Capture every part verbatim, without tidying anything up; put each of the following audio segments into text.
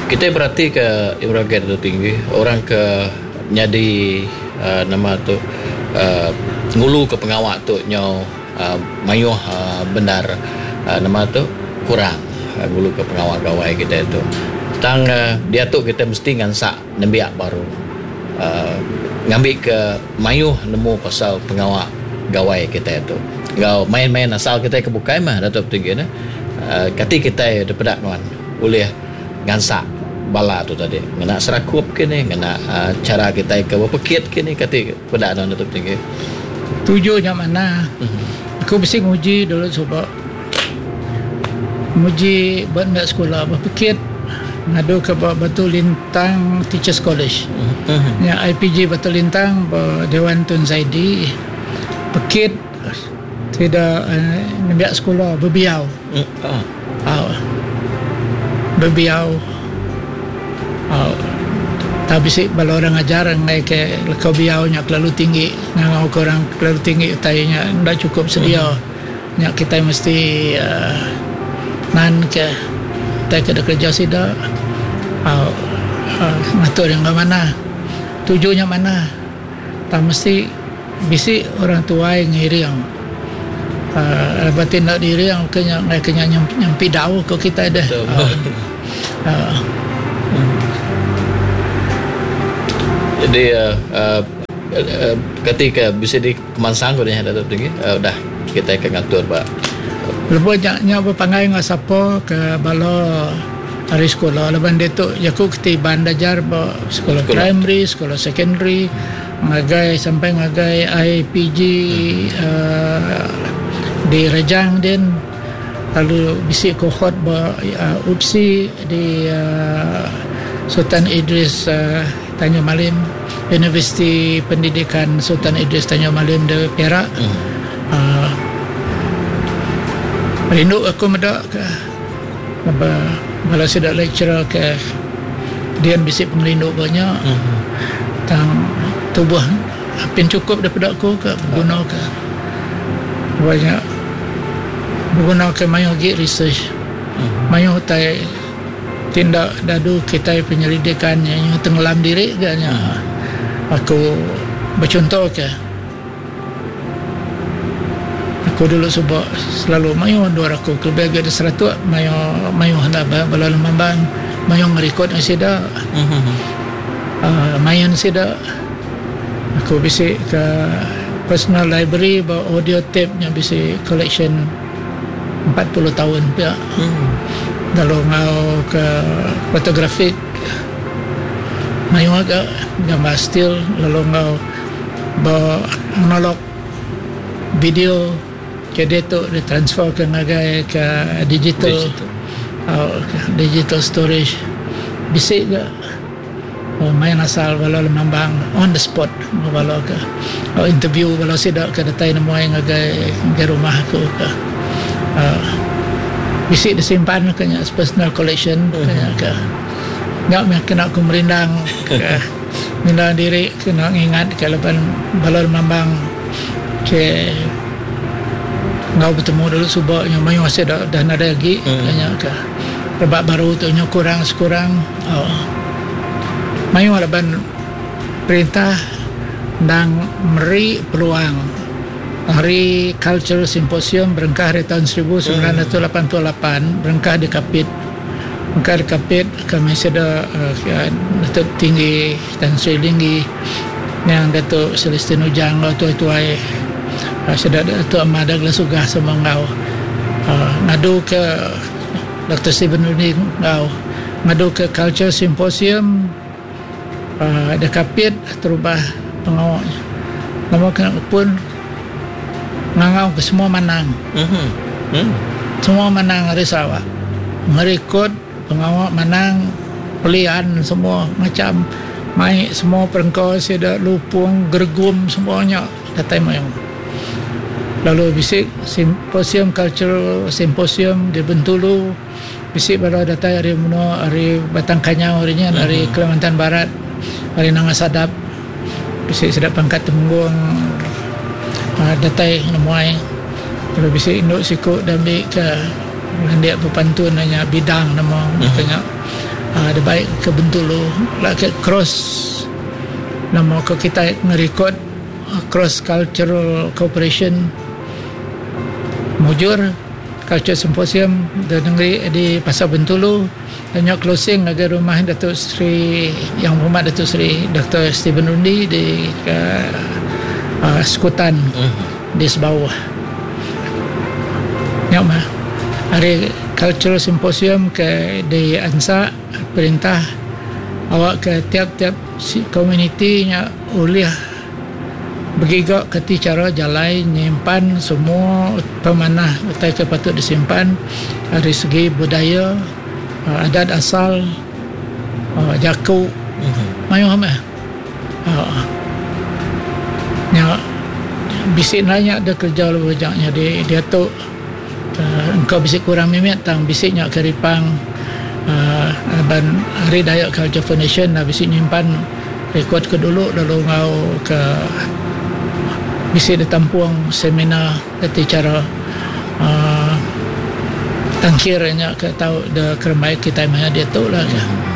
Kitai beratika Ibragate tu tinggi orang ke nyadi uh, nama tu uh, ngulu ke pengawa tu nyau uh, mayuh uh, bendar uh, nama tu kurang uh, ngulu ke pengawa gawai kita tu. Tang uh, dia tu kita mesti ngansak nembiak baru uh, ngambil ke mayuh nemu pasal pengawa gawai kita tu. Ngau main-main asal kita ke bukai mah Datuk Tinggi ne. Uh, kati kita depedak nuan boleh ngansak bala tu tadi ngena serakup kini ngena uh, cara kita ke berpekit kini kati pedak nuan Datuk Tinggi. Tujuhnya mana? Mm-hmm. Aku mesti nguji dulu cuba. Nguji buat nak sekolah berpekit ngadu ke Batu Lintang Teachers College. Mm-hmm. Ya I P G Batu Lintang Dewan Tun Zaidi pekit tidak uh, nembiak sekolah berbiau. Mm. Oh. Uh, berbiau. Uh, tapi si bala orang ajar ngai ke lekau biaunya terlalu tinggi, ngangau ke orang terlalu tinggi tainya ndak cukup sedia. Mm. Nya kita mesti uh, nan ke tai ke kerja sida. Uh, uh, ngatur yang mana tujuannya mana. Tak mesti bisi orang tua yang ngiring. Uh, batin nak diri yang kena kena nyampi dau ke kita dah. Uh, uh. Hmm. Jadi uh, uh, uh, ketika bisa di kemansang ko nya Datuk Tinggi uh, dah kita akan ngatur ba. Lepas nya berpangai ngah siapa ke bala hari sekolah leban dia tu jaku ketiban dajar ba sekolah, sekolah primary, sekolah secondary, ngagai sampai ngagai I P G hmm. uh, di Rejang din, lalu bisi kohort ba uh, U P S I di uh, Sultan Idris uh, Tanjung Malim, Universiti Pendidikan Sultan Idris Tanjung Malim di Perak. Hmm. Uh, rindu aku medak ke bala sidak lecturer ke dia bisi pengerindu banyak. Hmm. Tang tubuh apin cukup daripada aku ke guna ke banyak guna ke mayu gi research. Hmm. Mayu tai tindak dadu kita penyelidikan yang tenggelam diri ganya. Hmm. Aku bercontoh ke aku dulu sebab selalu mayu dua aku lebih ada seratus mayu mayu hendak bala lemambang mayu ngerekod sida. Hmm. Uh, mayan sida aku bisi ke personal library bawa audio tape nya bisi collection empat puluh tahun pia. Hmm. Lalu ngau ke fotografik mayu agak gambar still, lalu ngau bawa analog video jadi tu ditransfer ke ngagai ke digital, digital. Uh, digital storage bisi ke oh, main asal bala lemambang on the spot bala ke oh, interview bala sidak ke datai nemu ngagai ngagai rumah aku ke uh, bisi disimpan ke nya personal collection mm-hmm. ke ke ngak meh kena aku merindang ke merindang diri kena ingat ke leban bala lemambang ke ngau bertemu dulu subak yang mayu masih dah, dah nada lagi mm. kanya ke rebak baru tu nyo kurang sekurang oh. Mayu laban perintah dang meri peluang hari Cultural Symposium berengkah dari tahun seribu sembilan ratus lapan puluh lapan berengkah di Kapit berengkah di Kapit kami sudah uh, Datuk Tinggi Tan Sri Linggi yang Datuk Celestine Ujang tuai-tuai uh, sudah Datuk Ahmad Douglas Uggah semua ngau uh, ngadu ke Doktor Stephen Rudin ngau ngadu ke Culture Symposium uh, ada Kapit terubah pengawalnya nama kena pun ngangau ke semua manang. Mm-hmm. Mm. Semua manang hari Sarawak ngerekod pengawal manang pelian semua macam mai semua perengkau sida lupung gergum semuanya datai mayung. Lalu bisik simposium cultural symposium di Bentulu bisik baru datai hari Meno hari Batang Kanyau harinya mm-hmm. hari Kalimantan Barat hari Nanga Sadap bisik sedap pangkat Temenggung uh, datai nemuai. Lalu bisik induk sikuk dan ambil ke landik berpantun hanya bidang nama mm-hmm. kena uh, ada baik ke Bentulu lah ke cross nama ke kita ngerekod uh, cross cultural cooperation mujur culture symposium di negeri di Pasar Bentulu dan nyak closing ngagai rumah Datuk Seri Yang Berhormat Datuk Seri Doktor Stephen Rundi di uh, uh, Sekutan mm. di Sebawah. Nyak mah hari cultural symposium ke di Ansa perintah awak ke tiap-tiap community nya oleh begiga keti cara jalai nyimpan semua pemanah utai ke patut disimpan dari segi budaya, adat asal, jaku mm-hmm. mayuh mah uh, nya bisik nanya ada kerja lebih banyaknya di dia tu uh, engkau bisik kurang mimit tang bisiknya keripang uh, ban hari Dayak Culture Foundation dah bisik nyimpan rekod ke dulu lalu ngau ke bisik ditampung seminar keti cara uh, tangkirnya ke tahu de keremai kita maya dia tu lah hmm.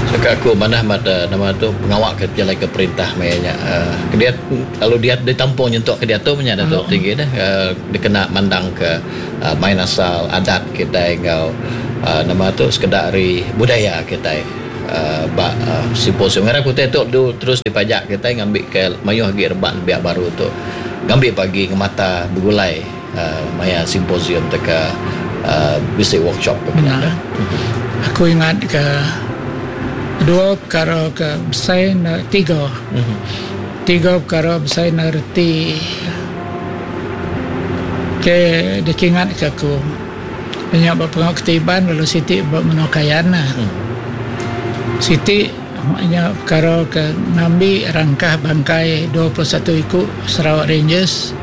Cakap aku mana mata nama tu pengawak ke jalan ke perintah mayanya uh, dia kalau dia ditampung nyentuk ke dia tu punya dah tu oh. Tinggi dah uh, dia kena mandang ke uh, main asal adat kita ngau uh, nama tu sekedar hari budaya kita uh, ba uh, simposium ngarap kita tu du, terus dipajak kita ngambil ke mayuh lagi rebak biak baru tu ngambil pagi ke mata bergulai uh, maya simposium teka uh, basic workshop ke nah, aku ingat ke dua perkara ke besar tiga mm-hmm. tiga perkara besar reti ke dikingat ke aku banyak berpengaruh ketiban lalu Siti buat menokayan lah mm. Siti maknanya perkara ke ngambil rangkah bangkai dua puluh satu ikut Sarawak Rangers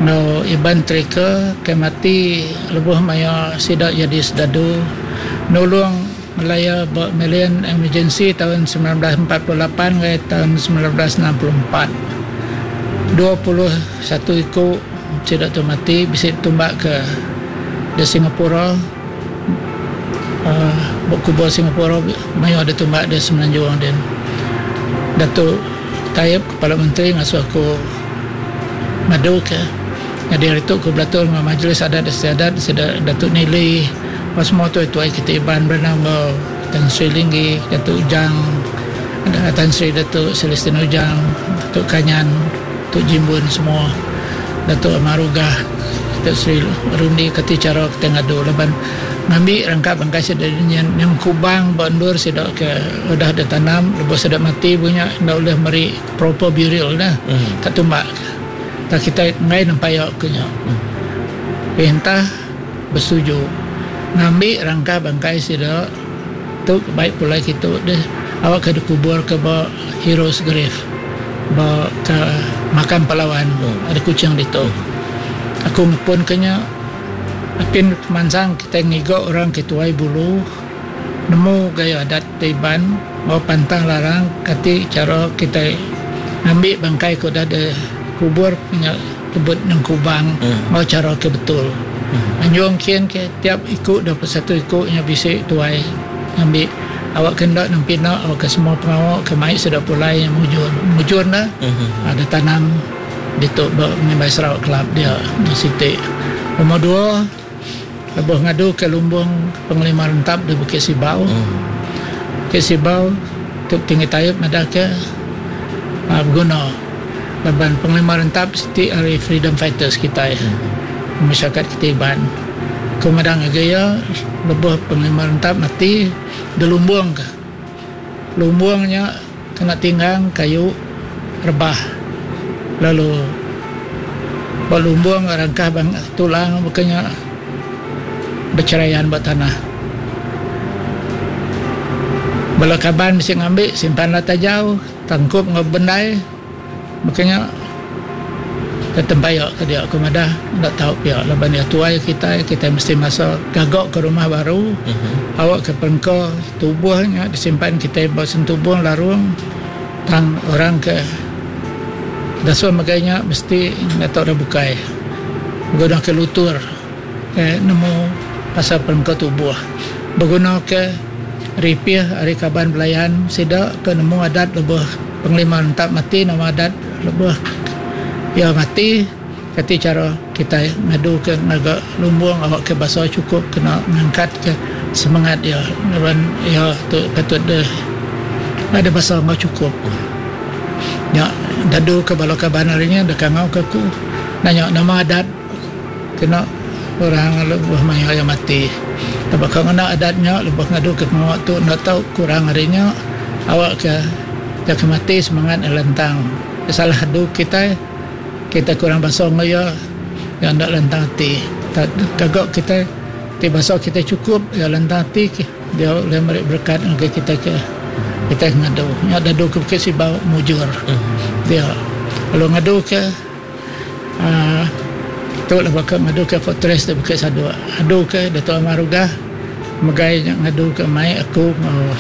no Iban Tracker ke mati lebuh maya sidak jadi sedadu nolong Melaya buat Malayan Emergency tahun sembilan belas empat puluh lapan ke tahun sembilan belas enam puluh empat dua puluh satu ikut sidak tu mati bisa tumbak ke di Singapura uh, kubur Singapura mayu ada tumbak di Semenanjung dan Datuk Taib Kepala Menteri ngasuh aku madu ke jadi hari tu aku belatur dengan Majlis Adat Istiadat Datuk Nili pas semua tu itu kita Iban bernama Tan Sri Linggi, Datuk Ujang, Tan Sri Datuk Celestine Ujang, Datuk Kanyan, Datuk Jimbun semua, Datuk Amarugah, Datuk Sri Rundi kati cara kita ngadu leban ngambil rangkap bangkai sedak yang, yang kubang bandur sedak ke udah ada tanam lepas sedak mati punya ndak boleh meri proper burial dah mm. Tak tumbak tak kita ngai nampak kenya mm. Perintah bersetuju ngambil rangka bangkai sedak tu baik pula kita deh awak ke kubur ke ba heroes grave ba ke makam pahlawan mm. Ada kucing di tu aku pun kenya apin kemansang kita ngigok orang ketuai bulu nemu gaya adat Iban mau pantang larang kati cara kita ngambil bangkai ke dah ada kubur punya kebut nang kubang mm. Mau cara ke betul mm. Anjung kian ke tiap ikut dua puluh satu ikutnya bisik tuai ngambil awak kendak nang pina awak ke semua pengawak ke mai sudah pulai yang mujur mujur dah mm-hmm. Ada tanam di tu menimbai Sarawak Club dia di Siti nombor dua lebuh ngadu ke lumbung Panglima Rentap di Bukit Sibau. Mm. Bukit Sibau Tuk Tinggi Taib ada ke uh, berguna laban Panglima Rentap siti hari freedom fighters kita ya. Mm. Masyarakat kita Iban. Kemadang gaya lebuh Panglima Rentap mati di lumbung ke. Lumbungnya kena tinggang kayu rebah. Lalu lumbung rangkah bang tulang bukannya berceraian buat tanah. Bala kaban mesti ngambil simpan lata jauh tangkup ngebendai makanya ke tempayak ke dia aku madah tak tahu pihak laban dia tuai kita kita mesti masuk gagok ke rumah baru uh-huh. Awak ke perengka tubuhnya disimpan kita bawa sentubuh larung tang orang ke dasuh makanya mesti nak tahu dah bukai guna ke lutur eh, nemu pasal perengka tubuh Beguna ke ripih ari kaban belayan sida ke nemu adat lebuh Penglima Rentap mati nama adat lebuh iya mati kati cara kitai ngadu ke ngaga lumbung awak ke basa chukup kena ngangkat ke semangat iya laban iya tu patut deh ada basa enggau chukup. Nya dadu ke bala kaban ari nya deka ngau ke aku nanya nama adat kena orang lebuh maya iya mati. Taba ka ngena adat nya lebuh ngadu ke pengawa tu enda tau kurang ari nya awak ke iya ke mati semangat iya lantang. Salah adu kitai kitai kurang basa enggau iya, iya enda lantang ati. Gaga kitai ti basa kitai chukup iya lantang ati dia ulih meri berekat ngagai kitai ke kitai ngadu. Nya dadu ke Bukit Sibau mujur. Dia lalu ngadu ke uhh tu lah baka ngadu ke fortress di Bukit Sadok. Adu ke Dato Amar Uggah megai nya ngadu ke mai aku enggau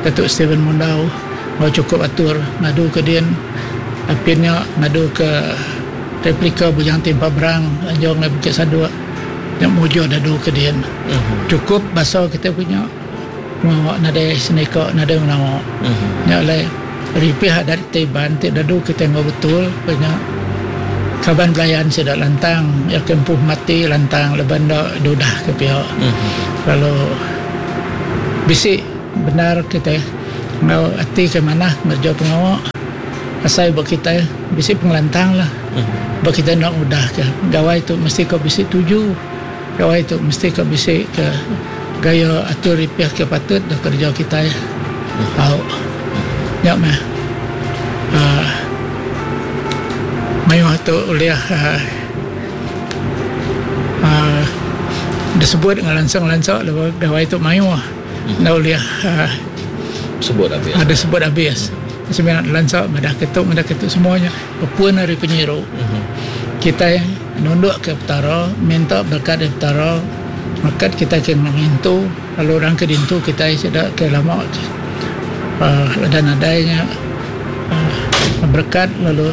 Dato Stephen Mundau enggau chukup atur ngadu ke din. Apin nya ngadu ke replika Bujang Timpa Berang anjung ngagai Bukit Sadok nya mujur dadu ke din. Chukup basa kitai punya pengawa nadai senika nadai menawa. Nya alai ripih adat kitai Iban ti dadu kitai enggau betul ku nya kaban belayan sida lantang iya ke empu mati lantang laban enda dudah ke pia. Lalu bisi bendar kitai enggau ati ke manah ngereja pengawa asai ba kitai bisi pengelantang lah. Ba kitai enda mudah ke gawai tu mesti ka bisi tuju. Gawai tu mesti ka bisi ke gaya atur ripih ke patut da kereja kitai. Au. Nya meh uhh mayuh tu ulih uhh uhh disebut ngelansa-ngelansa laban gawai tu mayuh enda ulih uhh Sebut abis. Disebut abis. Semina lansa madah ke tu madah ke tu semua nya bepun ari penyiru. Kitai nunduk ke Petara minta berekat ari Petara merekat kitai ke ngintu lalu orang ke dintu kitai sida ke lama uhh udah nadai nya uhh berekat lalu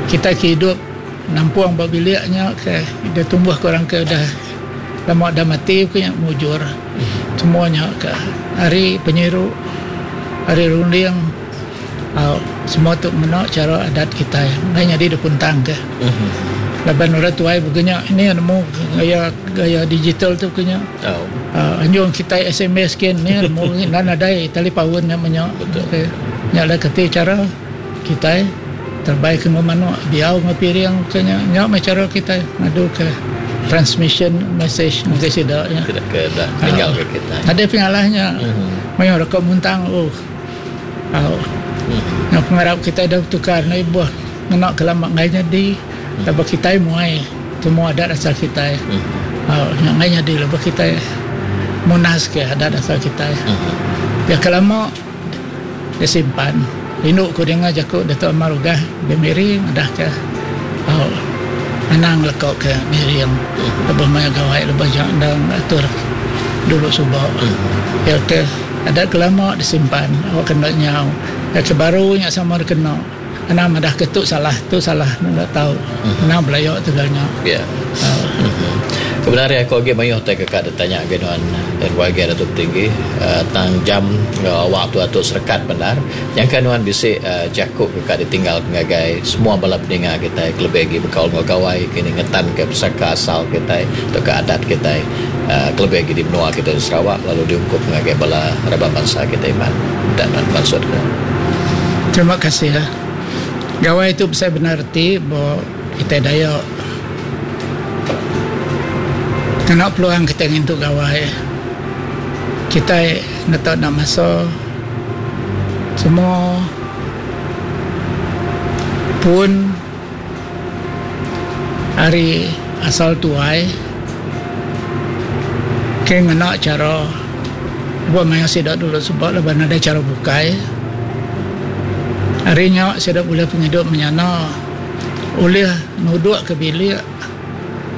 kitai ke idup nampung ba bilik nya ke deh tumbuh ke orang ke udah lama udah mati ku nya mujur semua nya ke ari penyiru ari runding au semua tu ngena chara adat kitai enggai nyadi da puntang ke. Laban orang tuai baka nya ini nemu gaya gaya digital tu baka nya. Aaa anjung kitai S M S kin ni nemu enda nadai talipaun nya menya. Nya alai kati chara kitai terebai ke enggau manuk diau enggau piring baka nya. Nya meh chara kitai ngadu ke transmission message ngagai sida nya. Nadai pengalah nya mayuh reka muntang oh. Au. Nyau pengarap kitai dau betukar enda ibuh ngena ke lama enggai nyadi laban kitai muai semua adat asal kitai. Au nya enggai nyadi laban kitai munas ke adat asal kitai. Pia ke lama disimpan rindu ku dinga jaku Dato Amar Uggah di Miri madah ke au anang leko ke miring lebuh maya gawai lebuh ja endang atur dulu suba. Pia ke Adat ke lama disimpan awak ke enda nyau. Adat ke baru nya sama dikena. Anang madah ke tu salah, tu salah enda tau. Anang belaya tegal nya. Ya. Kebenar iya aku agi mayuh tai keka ditanya agi nuan R Y G Datuk Tinggi tang jam enggau awak tu atu serekat bendar. Nyangka nuan bisi jaku keka ditinggal ngagai semua bala peninga kitai kelebih agi bekaul enggau gawai kini ngetanka pesaka asal kitai tauka adat kitai. Kelebih agi di menua kitai di Sarawak lalu diungkup ngagai bala raban bansa kitai Iban enda nan mansut ke. Terima kasih. Gawai tu besai bendar reti ba kitai Dayak. Ngena peluang kitai ngintu gawai kitai ngetak enda masa semua pun ari asal tuai ke ngena chara lebuh maya sida dulu suba laban nadai chara bukai. Ari nya sida bulih pengidup menyana ulih nuduk ke bilik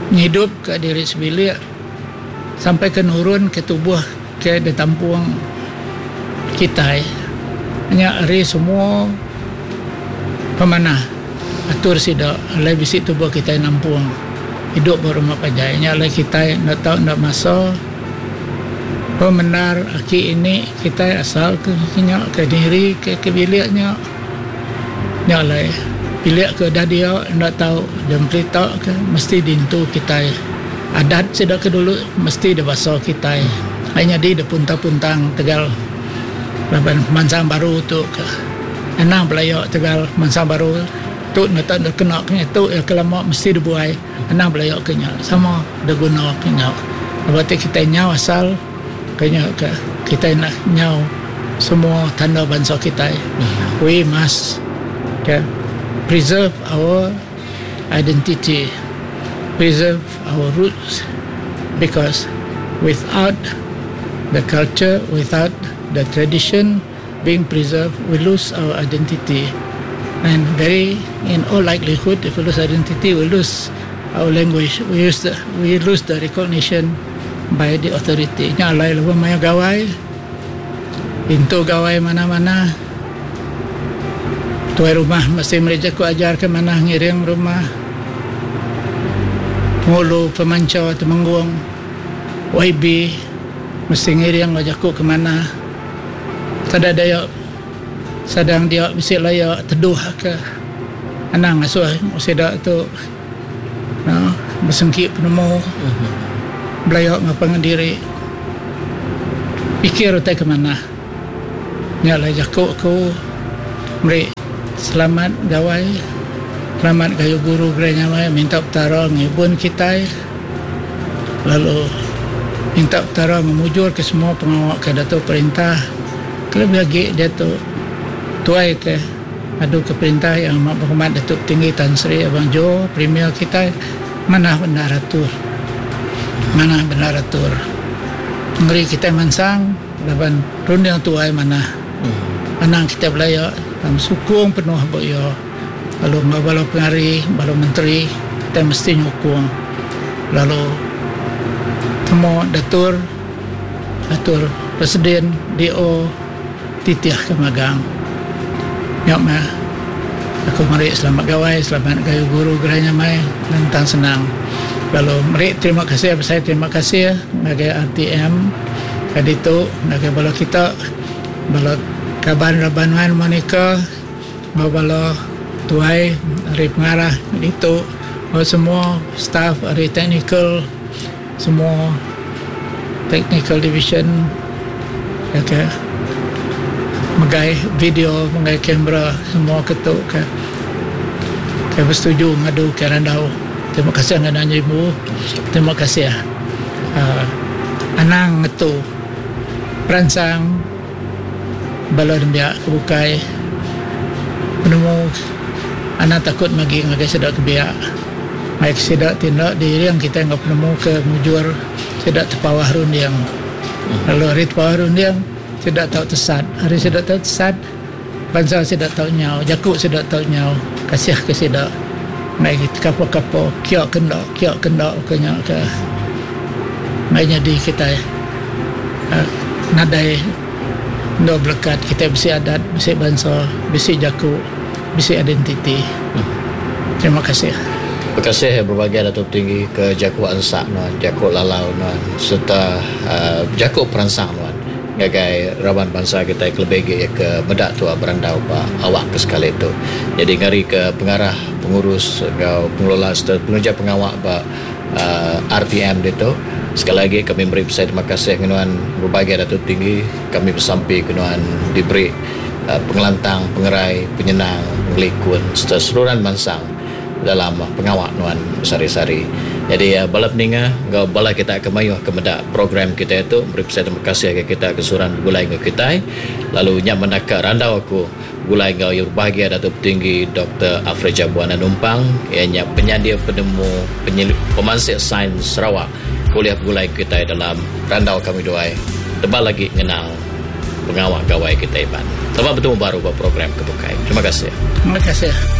ngidup ka diri sebilik sampai ke nurun ke tubuh ke ditampung kitai. Nya ari semua pemanah atur sida alai bisi tubuh kitai nampung idup ba rumah panjai. Nya alai kitai enda tau enda masa Pemendar aki ini kita asal ke nya ke diri ke ke biliknya. Nya alai bilik ke dah dia enda tau dempelita ke mesti dintu kita. Adat sida ke dulu mesti dibasa kita. Ai nyadi depuntang-puntang tegal laban mansang baru tu ke anang belayak tegal mansang baru tu nak tak kena kena tu ya kelama mesti dibuai anang belayak ke nya sama diguna ke nya. Lepas tu kita nyau asal kena ke kita nak nyau semua tanda bangsa kita. We must okay, preserve our identity, preserve our roots, because without the culture, without the tradition being preserved, we lose our identity. And very, in all likelihood, if we lose identity, we lose our language, we use the, we lose the recognition by the authority. Nya alai lebuh maya gawai, pintu gawai mana-mana, tuai rumah mesti mereka ku ajar ke mana ngiring rumah, ngulu pemanca temenggung, Y B mesti ngiring ngajaku ke mana. Sada daya sadang dia mesti layak teduh ke anang asuh sida tu no, bersengki penemu belayak ngapangan diri pikir utai ke mana. Nya lah jaku aku meri selamat gawai, selamat gayu guru gerai nyamai, minta petara ngibun kita, lalu minta petara memujur ke semua pengawak ke datuk perintah. Kelebih lagi dia tu tuai ke adu ke perintah yang amat berhormat Datuk Tinggi Tan Sri Abang Jo, Premier kita, mana benar atur, mana benar atur. Ngeri kita mansang laban runding tuai mana. Anang kita belayak dalam sukung penuh boyo. Lalu bala pengari, bala menteri kita mesti nyukung. Lalu temu datur atur presiden D O titiah ke magang. Nyok mah aku meri selamat gawai, selamat gayu guru gerai nyamai, lentang senang. Lalu meri terima kasih, saya terima kasih ngagai R T M kaditu, ngagai bala kita, bala kaban raban Monica, bala tuai ari pengarah ditu, semua staff ari technical, semua technical division, okay, megai video, megai kamera, semua ketuk ke. Saya bersetuju ngadu ke randau. Terima kasih dengan ibu. Terima kasih. Uh, anang ngetu peransang bala nembiak kebukai penemu anak takut magi ngagai sedak kebiak. Baik sedak tindak diri yang kita enggak penemu ke mujur sedak terpawah rundiang. Lalu hari terpawah rundiang sedak tahu tesat. Hari sedak tahu tesat, bangsa sedak tahu nyau, jakuk sedak tahu nyau. Kasih ke sedak. Baik kapo-kapo kiok kendak, kiok kendak kenya ke. Baik jadi kita uh, nadai no berkat kita besi adat, besi bangsa, besi jakuk, besi identiti. Hmm. Terima kasih. Terima kasih berbagai Datuk Tinggi ke Jakuk Ansak nuan, Jakuk Lalau nuan, serta uh, Jakuk Peransang nuan. Ngagai raban bangsa kita kelebih ke, ke medak tua berandau ba awak ke sekali itu. Jadi ngari ke pengarah, pengurus, atau pengelola serta pengerja pengawak ba uh, R T M itu. Sekali lagi kami beri besar terima kasih kenuan berbagai Datuk Tinggi. Kami bersampi kenuan diberi uh, pengelantang, pengerai, penyenang, pengelikun serta seluruhan bangsa dalam pengawak nuan sari-sari. Jadi uh, bala peninga, ngau bala kita ke mayuh ke medak program kita itu beri besar terima kasih ke kita ke suran gulai ngau kita. Lalu nyak mendaka randau aku gulai ngau yang berbahagia Datuk Tinggi Doktor Alfred Jabuan Numpang, ianya penyedia penemu penyelidik pemansik sains Sarawak. Kuliah gulai kita dalam randau kami doai. Tebal lagi ngenang pengawak gawai kita iban. Selamat bertemu baru buat program kebukai. Terima kasih. Terima kasih.